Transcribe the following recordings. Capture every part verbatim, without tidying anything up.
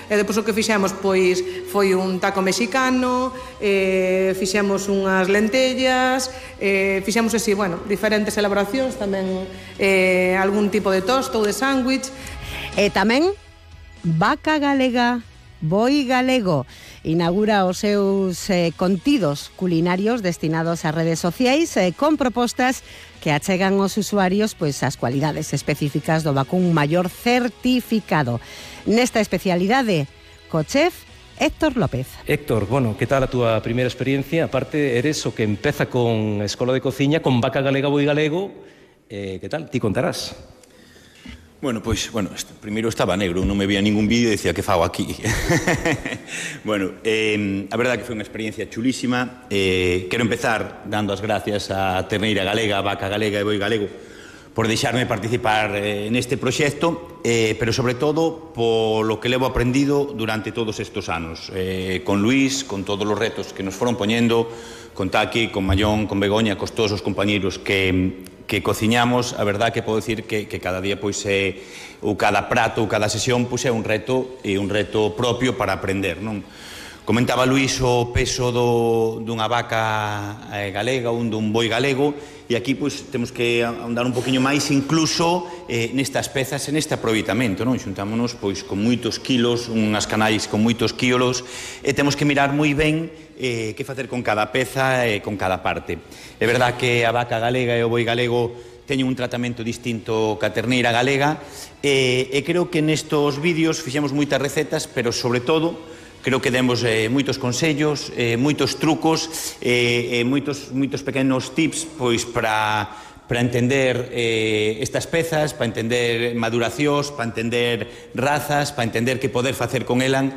e depois o que fixemos pois foi un taco mexicano, eh, fixemos unhas lentellas, eh, fixemos así, bueno, diferentes elaboracións, tamén eh, algún tipo de tosto ou de sándwich. E tamén Vaca Galega, Boi Galego inaugura os seus eh, contidos culinarios destinados a redes sociais eh, con propostas que achegan aos usuarios pois as cualidades específicas do vacún maior certificado. Nesta especialidade, co chef Héctor López. Héctor, bueno, que tal a túa primeira experiencia? Aparte, eres o que empeza con Escola de Cociña, con Vaca Galega, Boi Galego. Eh, que tal? Ti contarás. Bueno, pois, bueno, primeiro estaba negro, non me veía ningún vídeo e dicía que fago aquí. Bueno, eh, a verdade que foi unha experiencia chulísima. Eh, quero empezar dando as gracias a Terneira Galega, a Vaca Galega e Boi Galego por deixarme participar eh, neste proxecto, eh, pero sobre todo polo que levo aprendido durante todos estes anos. Eh, con Luís, con todos os retos que nos foron poñendo, con Taki, con Mallón, con Begoña, con todos os compañeiros que... que cociñamos, a verdad que podo dicir que, que cada día pois é ou cada prato ou cada sesión pois é un reto e un reto propio para aprender, non? Comentaba Luís o peso do, dunha vaca eh, galega ou dun boi galego e aquí pois temos que andar un poquinho máis incluso eh, nestas pezas e neste aproveitamento, non? Xuntámonos pois con moitos kilos, unhas canais con moitos quilos e temos que mirar moi ben eh, que facer con cada peza e con cada parte. É verdad que a vaca galega e o boi galego teñen un tratamento distinto ca terneira galega e, e creo que nestos vídeos fixemos moitas recetas, pero sobre todo creo que demos eh, moitos consellos, eh, moitos trucos e eh, eh, moitos, moitos pequenos tips pois para para entender eh, estas pezas, para entender maduracións, para entender razas, para entender que poder facer con elan.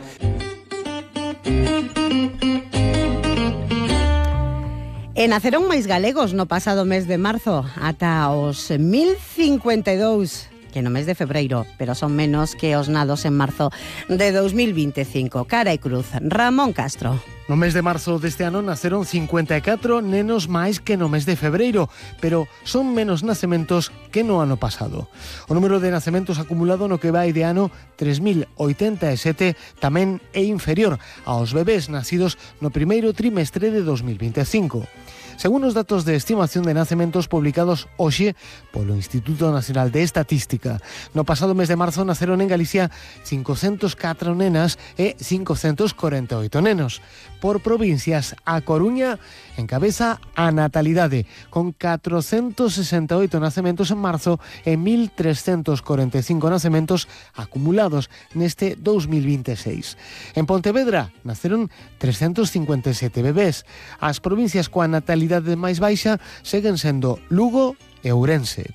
E naceron máis galegos no pasado mes de marzo, ata os mil cincuenta e dous, que no mes de febreiro, pero son menos que os nados en marzo de dos mil vinte e cinco. Cara e cruz, Ramón Castro. No mes de marzo deste ano naceron cincuenta e catro nenos máis que no mes de febreiro, pero son menos nacementos que no ano pasado. O número de nacementos acumulado no que vai de ano tres mil oitenta e sete tamén é inferior aos bebés nacidos no primeiro trimestre de dos mil vinte e cinco. Según os datos de estimación de nacementos publicados hoxe polo Instituto Nacional de Estatística, no pasado mes de marzo naceron en Galicia cincocentas e catro nenas e cincocentos corenta e oito nenos. Por provincias, a Coruña encabeza a natalidade, con catrocentos sesenta e oito nacementos en marzo e mil trescentos corenta e cinco nacementos acumulados neste dos mil vinte e seis. En Pontevedra naceron trescentos cincuenta e sete bebés. As provincias coa natalidade máis baixa seguen sendo Lugo e Ourense.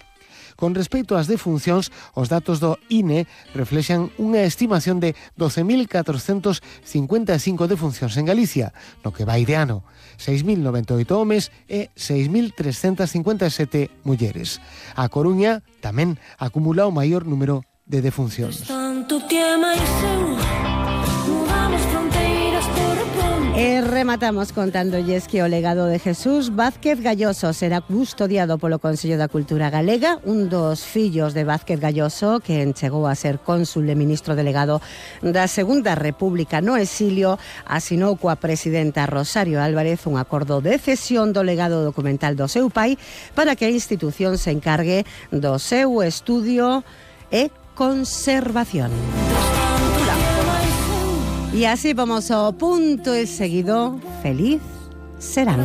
Con respecto ás defuncións, os datos do I N E reflexan unha estimación de doce mil catrocentos cincuenta e cinco defuncións en Galicia, no que vai de ano, seis mil noventa e oito homes e seis mil trescentas cincuenta e sete mulleres. A Coruña tamén acumula o maior número de defuncións. E rematamos contándolles que o legado de Jesús Vázquez Galloso será custodiado polo Consello da Cultura Galega, un dos fillos de Vázquez Galloso, que chegou a ser cónsul e ministro delegado da Segunda República no exilio, asinou coa presidenta Rosario Álvarez un acordo de cesión do legado documental do seu pai para que a institución se encargue do seu estudio e conservación. Y así vamos ao punto e seguido. Feliz serán.